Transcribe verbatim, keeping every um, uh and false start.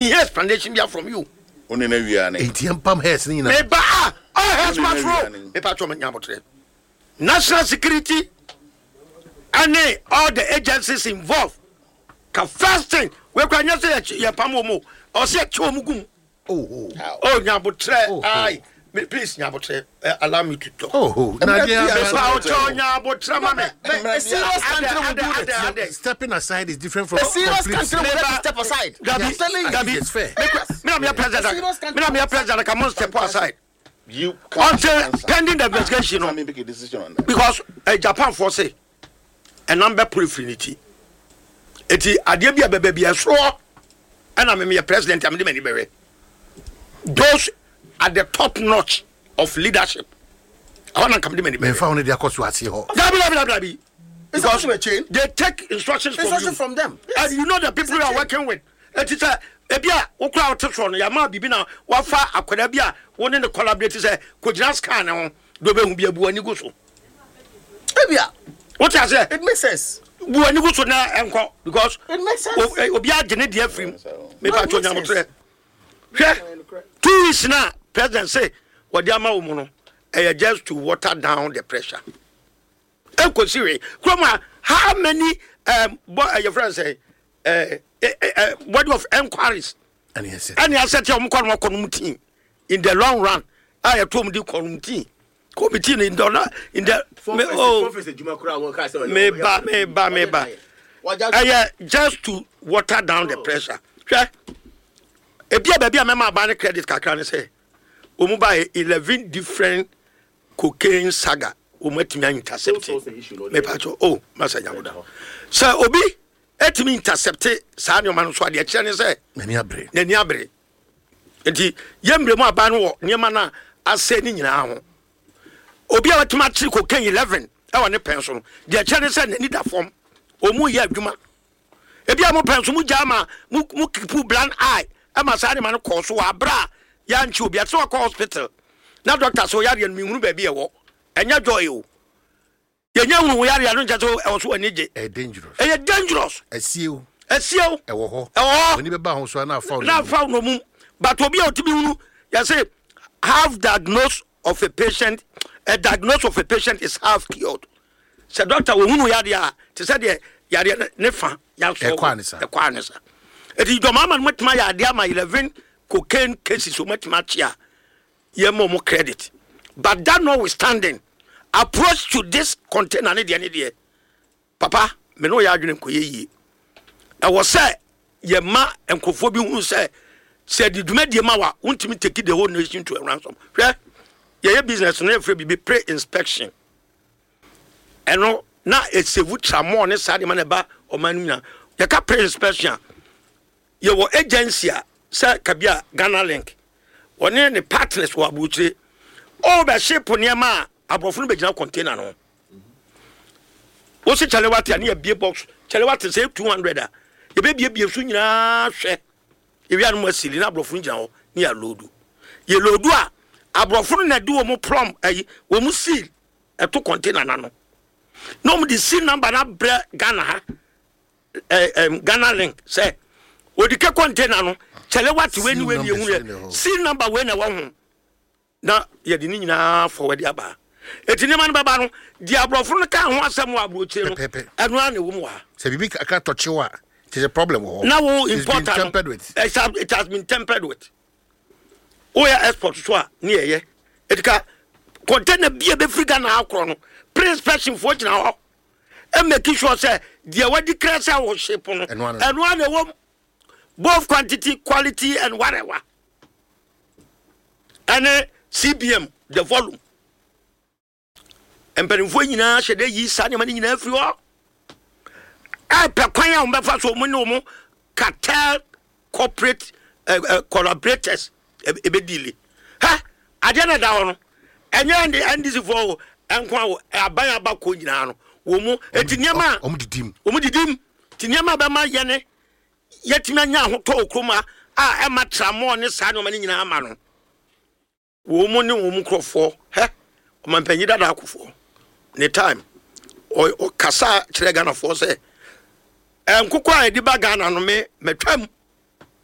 Mehia explanation bia from you. Wo ne no awia ne. Enti yɛmpam hairs no nyinaa. Meba a, all hairs Wo ne must no roll. awia ne. Mepa kyɛw nya abotrɛ. National security ɛne all the agencies involved. Ka first thing, wei kora nyɛ sɛ yɛpam wɔn o, ɔsɛ yɛkye wɔn gum. Oh, oh. Oh, nya abotrɛ. Oh, oh. Aye. Me, please, nya abotrɛ. Uh, allow me to talk. Oh, oh. Na deɛ Mepa aba- kyɛw nya abotrɛ ma me. A serious country will do that. Stepping aside is different from A serious complete- country will let you step aside. Gabi, I'm telling you. Gabi, It's fair. Me na me president. A serious country Me na me will president. Come on, step aside. You can't Until answer. pending the investigation, Let no. me make a decision on that. Because uh, Japan for say, ɛnam bɛ pere firi ne ti. Eti adeɛ bi a bɛbɛ bi ɛsoro ɛna me meyɛ president a mede m'ani bɛhwɛ. Those at the top notch of leadership. Ɛhɔ na nka mede m'ani bɛhwɛ. Mɛmfa wo no de akɔ so aseɛ hɔ. Dabi, dabi, dabi, dabi. It's also a chain. They take instructions from Instruction you. from them. Yes. And you know the people you are working with. Eti sɛ ebi a wokura wote soɔ no, yɛama biribi na wafa akwadaa bi a wo ne ne collaborate sɛ kɔgyina scan ne ho de obɛhu bi abu ani gu so. Ebia, Wote aseɛ? it makes sense. Bu ani gu so na ɛnkɔ because It makes sense. o- eh, obi agye ne deɛ afiri mu. Mepa No, it kyɛw makes nyamotorɛ. Hwɛ, two weeks na president say wɔde ama wo mu no, ɛyɛ just to water down the pressure. Ɛnkɔsi hwee. Kurom a, how many um, bo, uh, your friend say uh, uh, uh, body of enquiries ɛne ɛsɛ ɛne asɛ ɔmo kɔ no kɔ no mu team in the long run a yɛto ɔmo di kɔ no mu team committee no in the in the me, oh, meba, meba, meba. Ɛyɛ just to water down the pressure. Hwɛ, ebi a baabi a mɛma aban ne credit kakra ne sɛ wɔn ba yɛ eleven different cocaine saga, wɔn atumi a intercept. Mepa kyɛw, oh, masa nyamuda sɛ obi etumi intercept saa nneɛma no so, adeɛ kyerɛ ne sɛ n'ani abere. N'ani abere. Nti yɛmmerɛ mu aban no wɔ nneɛma no a asɛ ne nyinaa ho. Obi a watumi akyere cocaine eleven ɛwɔ ne pɛn so no, deɛ kyerɛ ne sɛ n'ani da fam, ɔmu yɛ adwuma. Ebi a mo pɛn so mo gya ama mo mo keep blind eye ɛma saa nneɛma no kɔɔ so wɔ abere a yɛankye obi ate sɛ wakɔ hospital na doctor sɛ ɔyareɛ no, mehunu baabi ɛwɔ. Ɛnyɛ joy o, yɛnyɛ hunu wo yareɛ no nkyɛ sɛ ɛwɔ so w'ani gye. Ɛyɛ dangerous. Ɛyɛ dangerous. Ɛsie o. Ɛsie o. Ɛwɔ hɔ. Ɛwɔ hɔ. W'ani bɛba ho so a na afa wo. Na afa wo nomum, but obi a otumi hunu, yɛsɛ half diagnose of a patient, a diagnose of a patient is half cured. Sɛ doctor ohunu yadeɛ a, te sɛ deɛ yadeɛ no ne fa yasɔ. Ɛkɔ anisa. Ɛkɔ anisa. Eti dɔm ama no matuma yɛ adeɛ ama eleven cocaine cases o, matuma akyi a yɛ mo credit. But that notwithstanding, approach to this container ne deɛ ne deɛ papa me ne ɔyɛ adwene nkɔyɛ yie. Ɛwɔ sɛ yɛma nkurɔfoɔ bi hunu sɛ sɛ de dwumadie ma wa, wontumi take the whole nation to a ransom. Hwɛ, yɛyɛ business no, yɛfrɛ biribi pre inspection. Ɛno na ɛ save tramɔ ne saa nneɛma na ɛba ɔman no nyinaa. Yɛka pre inspection a, yɛwɔ agency a sɛ kabi a Ghana Link, wɔne ne partners wɔ aburokyire, ɔbɛhye po nneɛma a aborɔfo no bɛgyina container no ho. Wosi kyale wate a, ne yɛbie box kyale wate sɛ two hundred a, yɛbɛbiebie so nyinaa hwɛ. Ewia no mu asili na aborɔfo no gyina hɔ ne yɛ load. Yɛ load a, aborɔfo no na de wɔn plum ayi wɔn seal ɛto container n'ano na wɔn de seal number na brɛ Ghana ha, ɛɛ ɛm Ghana Link sɛ odi kɛ container no kyale wate wei ni wei ni ehu yɛ seal number wei na ɛwɔ ho na yɛde ne nyinaa forward aba. Eti nneɛma no bɛba no deɛ, aborɔfo no ka ho asɛm wɔ aburokyire no, Pɛpɛpɛ. ɛno ara na ɛwɔ mu wɔ ha. Sɛ biribi kakra tɔkyew a, kyerɛ sɛ problem wɔ hɔ. Na wo It's been importer no tempered with. it has, it has been tempered with. Woyɛ export so a, ne yɛyɛ etika container bi a bɛfiri Ghana akorɔ no, pre-inspection foɔ gyina hɔ ɛ make sure sɛ deɛ wadi kra sɛ wɔ ship no, Ɛno ano. ɛno ara na ɛwɔ mu, both quantity, quality and whatever, ɛne C B M, the volume. Mpanimfoɔ nyinaa hyɛ dɛ yi saa nneɛma no nyinaa firi hɔ, ɛpɛ kwan a wɔbɛfa so wɔn ne wɔn cartel corporate uh, uh, collaborators ebe deal. Ha adeɛ na ɛda hɔ no, ɛnyɛ N D N D C foɔ o nko a o, aban abakɔ nyinaa no wɔn mu eti nneɛma a ɔmo didi mu. Wɔn didi mu. Ti nneɛma a bɛma yɛne yɛtumi anya ahotɔ wɔ kurom a a ɛma tramɔɔ ne saa nneɛma no nyinaa ama no, wɔn mu ne wɔn mu nkurɔfoɔ hɛ. Ɔmampanyin dada akofoɔ ne time ɔ- ɔkasa kyerɛ Ghanafoɔ sɛ nkokɔ a yɛde ba Ghana no, me mɛtwam.